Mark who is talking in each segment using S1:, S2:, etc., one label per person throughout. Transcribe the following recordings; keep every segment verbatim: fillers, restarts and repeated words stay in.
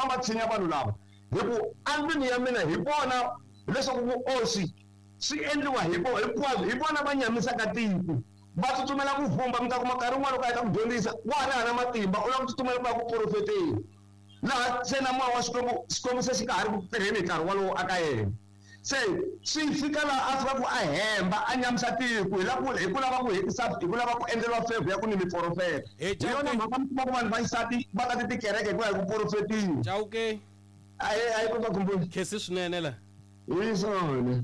S1: famba tshinya vanhu lava hi ku andlwini ya mina hi vona leswaku vuoswi swi endliwa hi vo hinkwabyo hi vona va nyamisaka tiko va tsutsumela ku vumba mi ta kuma nkarhi wun'wana loko a heta ku dyondzisa wa ha ri hana matimba u lava ku tsutsumela ku ya ku porofeteni laha se na moya wa Xikwembu Xikwembu se xi nga ha ri ku tirheni hi nkarhi wolowo aka yena se swi fika laha a fika ku a hemba a nyamisa tiko hi la ku hi ku lava ku hetisa hi ku lava ku endleriwa favor ya ku ni miporofeta
S2: Hey,
S1: hi yona
S2: Chauke.
S1: mhaka mi kuma ku vanhu va xisati va ta ti tikereke hikuva hi ku porofetiwa
S2: Chauke
S1: a hi a hi ku va khumbuli
S2: khesi swinene la
S1: hi swona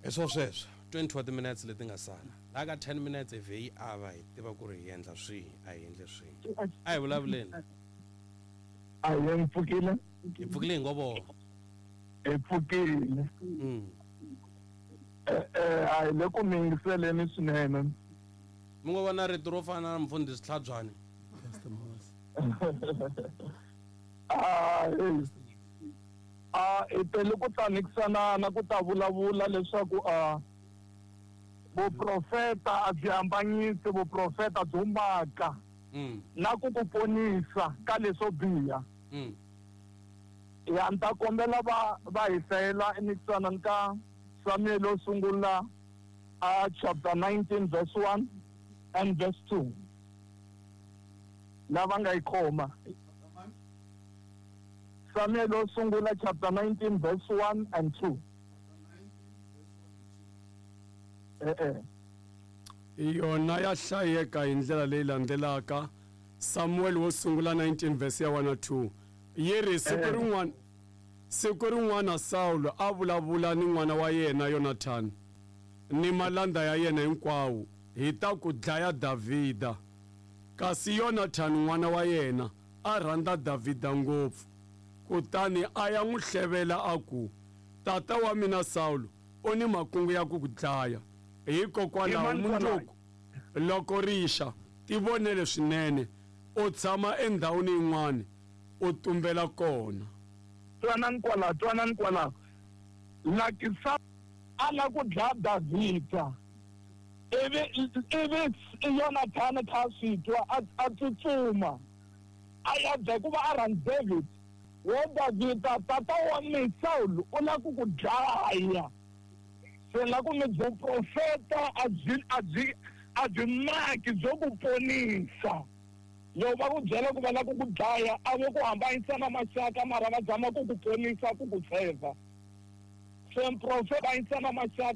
S2: hi swo sweswo twenty wa timinutes leti nga sala laha ka ten minutes hi vhe yi ava hi tiva ku ri hi endla swihi a hi endle swihi a hi vulavuleni
S3: a hi mi pfukile
S2: hi pfukile hi ngo vona
S3: hi pfukile
S2: Mm.
S3: Eh, eh, a hi le ku mi yingiseleni swinene
S2: mi ngo vona rito ro fana na mfundhisi tlhabyani
S3: a hey. a hi tele ku ta nikisanana ku ta vulavula leswaku a vuprofeta a byi hambanyisi vuprofeta byo maka
S2: Mm,
S3: na ku ku ponisa ka leswo biha
S2: mm.
S3: ya ni ta kombela va va hi hlayela enikisanani ka Samuel yo sungula a chapter nineteen verse one and verse two lava nga yi khoma Samuel yo sungula chapter nineteen verse one and two eh eh
S4: yona ya hlayeka hi ndlela leyi landzelaka Samuel wo sungula nineteen verse ya one na two yi ri siku
S3: Eh.
S4: rin'wana siku rin'wana Sawulo a vulavula ni n'wana wa yena Yonathani ni malandza ya yena hinkwawo hi ta ku dlaya Davhida kasi Yonathani n'wana wa yena a rhandza Davhida ngopfu kutani a ya n'wi hlevela a ku tata wa mina Sawulo u ni makungu ya ku ku dlaya hikokwalaho
S3: I mani kwalaho?
S4: mundzuku loko rixa tivonele swinene u tshama endhawini yin'wana u tumbela kona
S3: twanani kwalaho twanani kwalaho laki sa a la ku dlaya Davhida ivi ivi Yonathani kha a swi twa a a tsutsuma a ya dlaya hikuva a rhandza David wo Davhida tata wa mina Sawulo u la ku ku dlaya se la ku mi vuprofeta a byi a byi a byi maki byo ku ponisa loko va ku byela ku va la ku ku dlaya a vo ku hambanyisa na maxaka mara va zama ku ku ponisa ku ku tshemba se mprofeta hambanyisa na maxaka